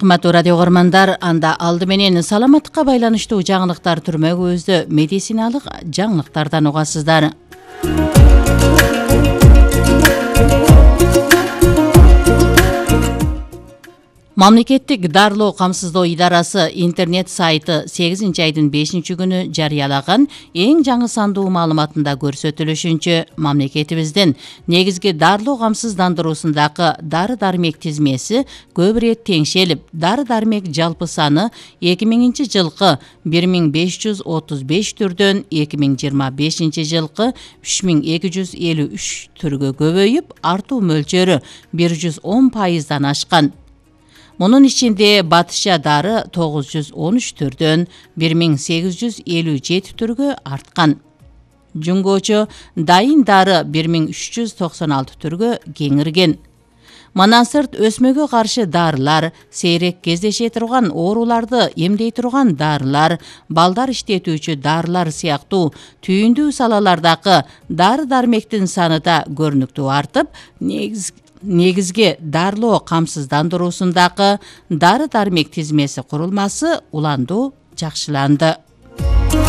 Кымбаттуу радио көрөрмандар, анда алды менен саламаттыкка байланыштуу жаңылыктар түрмөгүбүздө медициналык жаңылыктардан угасыздар. Мамлекеттик дарылоо камсыздоо идарасы интернет сайты 8-айдын 5-күнү жарыялаган эң жаңы сандуу маалыматында көрсөтүлүшүнчө, мамлекетибиздин негизги дарылоо камсыздандыруусундагы дары-дармек тизмеси көп ирет теңшелип, дары-дармек жалпы саны 2000-жылкы 1535 түрдөн 2025 жылкы 3253 түргө көбөйүп, артуу мөлчөрү 110% ашкан. Мунун ичинде батышча дары 913 түрдөн 1857 түргө арткан. Жуңгочо дайын дары 1396 түргө кеңирген. Манасырт өсмөгө каршы дарылар, сейрек кездеше турган ооруларды эмдей турган дарылар, балдар иштетүүчү дарылар сыяктуу түйүндүү салалардагы дары-дармектин саны да көрүнүктүү артып, негизги дарылоо камсыздандыруусундагы дары-дармек тизмеси курулмасы уланду жакшыланды.